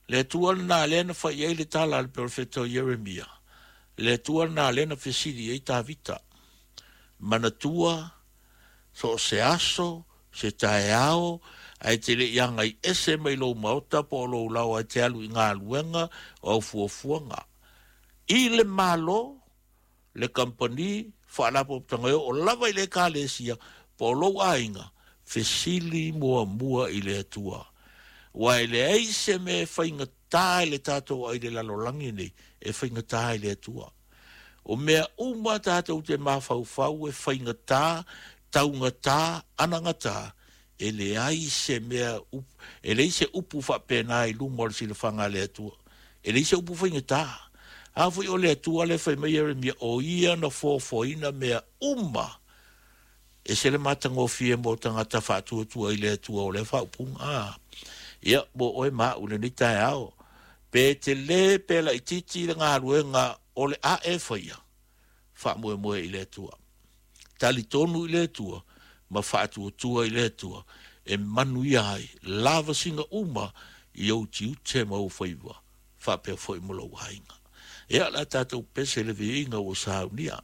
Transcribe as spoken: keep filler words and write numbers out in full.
Le Atua lena lea na fai ai le tala a le perofeta o Ieremia. Le Atua lena lea na fesili ai Tavita. Manatua, so o se aso, se taeao, ae te le i agai ese mai lou maota po o lou lao ae te alu i galuega o au fuafuaga. I le Malo, le kamupani, faalapotopotoga e oo lava i le Ekalesia po o lou aiga, fesili muamua i le Atua. Aua e leai se mea e faigata i le tatou ai i le lalolagi nei, e faigata i le Atua. O mea uma tatou te mafaufau e faigata, taugata, anagata, e leai se mea, e leai se upu faapena i luma o le silafaga a le Atua. E leai se upu faigata. A foi o le Atua lea fai mai Ieremia, o ia na foafoaina mea uma. E ese le matagofie mo tagata faatuatua i le Atua o lea faaupuga. A, ia, mo oe ma au i lenei taeao, pe tele pe laitiiti le galuega o le a e faia, faamoemoe i le Atua. Talitonu i le Atua ma faatuatua i le Atua e manuia ai lavasiga uma i ou tiute ma ou faiva, faapea foi ma lou aiga. Ia, o le a tatou pese i le viiga ua saunia.